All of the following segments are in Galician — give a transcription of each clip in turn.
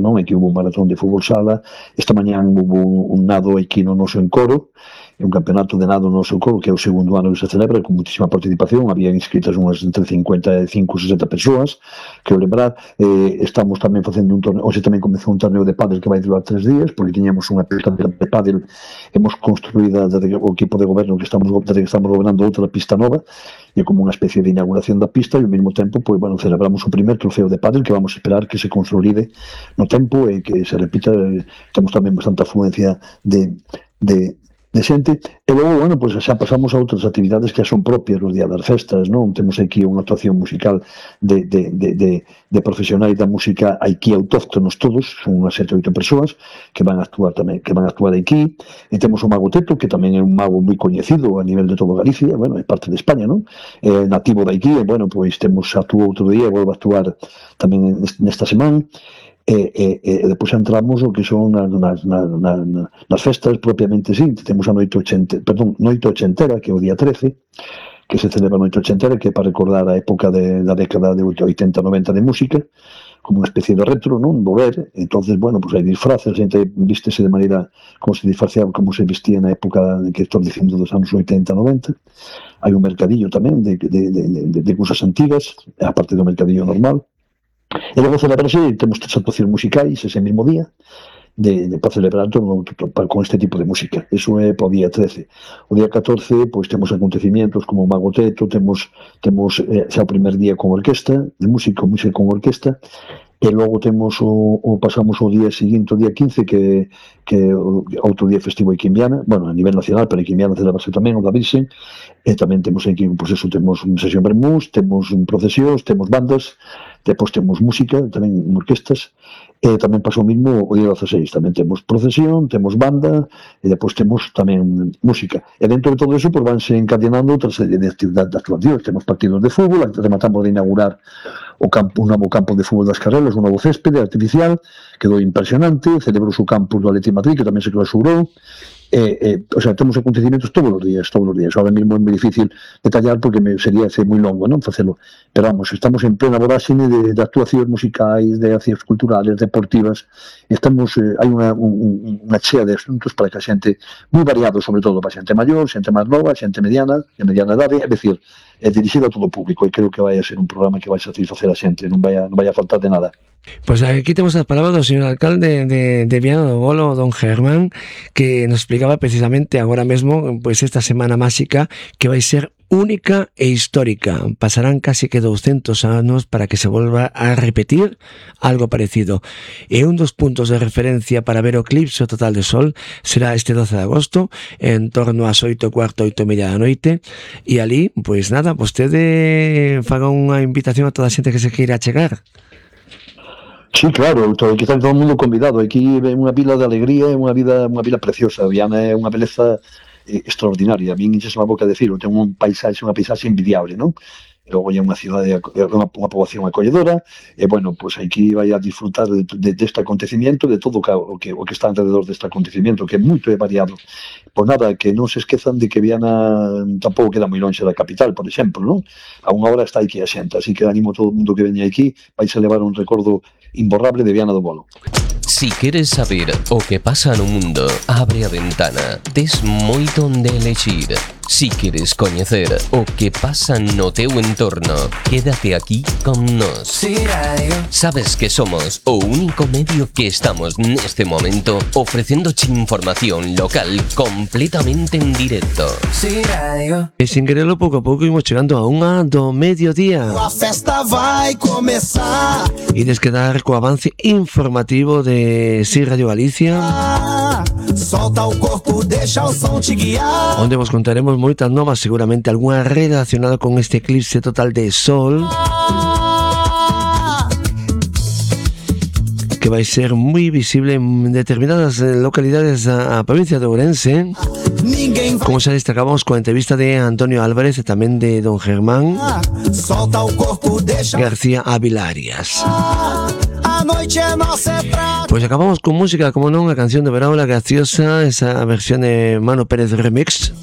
non? Aquí hubo un maratón de fútbol sala, esta mañán hubo un nado aquí no noso encoro, un campeonato de nado no noso encoro, que é o segundo ano que se celebra, con muchísima participación, había inscritas unhas entre 55 e 60 persoas, que lembrar, estamos tamén facendo un torneo, hoxe tamén comezou un torneo de pádel que vai durar 3 días, porque tiñamos unha pista de pádel, hemos construído desde o equipo de goberno que estamos gobernando outra pista nova, e como unha especie de inauguración da pista, e ao mesmo tempo, pois, bueno, celebramos o primer trofeo de pádel que vamos a esperar que se consolide no tempo e que se repita. Temos tamén bastante afluencia de xente, e logo, bueno, pois xa pasamos a outras actividades que son propias os días das festas, non? Temos aquí unha actuación musical de profesionais da música aquí autóctonos todos, son unhas 7 ou 8 persoas que van a actuar tamén, que van a actuar aquí, e temos o Mago Teto, que tamén é un mago moi coñecido a nivel de todo Galicia, bueno, é parte de España, non? Nativo de aquí, e, bueno, pois actuou outro día, volve a actuar tamén nesta semana, e depois entramos o que son nas festas propiamente sí. Temos a noite ochentera, que é o día 13, que se celebra a noite ochentera, que é para recordar a época da década de 80-90 de música, como unha especie de retro, non? Volver. Entonces, bueno, pues hai disfraces, a xente vístese de maneira como se disfrazaba, como se vestía na época que estou dicindo dos anos 80-90. Hai un mercadillo tamén de cousas antigas, aparte do mercadillo normal. E logo celebrarse, temos 3 actuacións musicais ese mesmo día, para celebrar con este tipo de música. Eso é para o día 13. O día 14, pois temos acontecimientos como o Mago Teto, temos xa o primer día con orquesta, de música con orquesta, e logo pasamos o día seguinte, o día 15, que outro día festivo aquí en Viana, bueno, a nivel nacional, pero aquí en Viana celebrase tamén o da Virxen, e tamén temos aquí, pois eso, temos unha sesión vermús, temos procesións, temos bandas, depois temos música, tamén orquestas, e tamén pasou mismo o día 16, tamén temos procesión, temos banda, e depois temos tamén música. E dentro de todo eso, pois vanse encadenando outra serie de actividades de actuacións. Temos partidos de fútbol, rematamos de inaugurar un novo campo de fútbol das Carrelas, un novo céspede artificial, quedou impresionante, celebrouse o campus do Atleti Madrid, que tamén se clausurou, o sea, temos acontecimientos todos os días. Ahora mesmo é moi difícil detallar porque sería moi longo, non, facelo, pero vamos, estamos en plena voráxine de actuacións musicais, de accións culturales, deportivas, hai unha chea de asuntos para que a xente, moi variado, sobre todo para a xente maior, xente máis nova, xente mediana, de mediana idade, é dicir, é dirixido a todo o público, e creo que vai a ser un programa que vai satisfacer a xente, non vai a faltar de nada. Pues aquí temos as palabras do señor alcalde de Viana do Bolo, don Germán, que nos explicaba precisamente agora mesmo pues esta semana máxica que vai ser única e histórica. Pasarán casi que 200 anos para que se volva a repetir algo parecido. E un dos puntos de referencia para ver o eclipse total de sol será este 12 de agosto, en torno ás 8:15, 8:30 da noite. E ali, pois nada, vostede faga unha invitación a toda a xente que se queira chegar. Sí, claro, que está todo o mundo convidado. Aquí é unha vila de alegría, é unha vila preciosa. Viana é unha beleza extraordinaria. A min enches a boca de decirlo, ten unha paisaxe envidiable, non? E logo é unha cidade, unha poboación acolledora, e, bueno, pois aquí vai a disfrutar deste acontecimiento, de todo o que está alrededor deste acontecimiento, que é moito variado. Por nada, que non se esquezan de que Viana tampouco queda moi longe da capital, por exemplo, non? A unha hora está aquí a xente, así que animo a todo o mundo que veña aquí, vais a levar un recordo imborrable de Viana do Bolo. Si queres saber o que pasa no mundo, abre a ventana. Tes moito onde elexir. Si queres coñecer o que pasa no teu entorno, quédate aquí con nós. Sabes que somos o único medio que estamos neste momento ofrecéndoche información local completamente en directo. E sin quererlo, pouco a pouco imos chegando a unha do mediodía. A festa vai comezar. Ides quedar co avance informativo de Si Radio Galicia, Solta o corpo, deixa o som te guiar. onde vos contaremos moitas novas, seguramente algunha relacionada con este eclipse total de sol, que vai ser moi visible en determinadas localidades da provincia de Ourense, como xa destacamos coa entrevista de Antonio Álvarez e tamén de don Germán Solta o corpo, deixa García Avilarias. a noite é nossa praia. Pois acabamos con música, como non, a canción de Verão La Graciosa, esa versión de Mano Pérez Remix.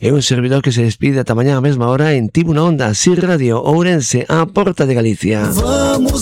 É un servidor que se despide ata mañá a mesma hora en Tibu na Onda, Si Radio Ourense, a porta de Galicia. Vamos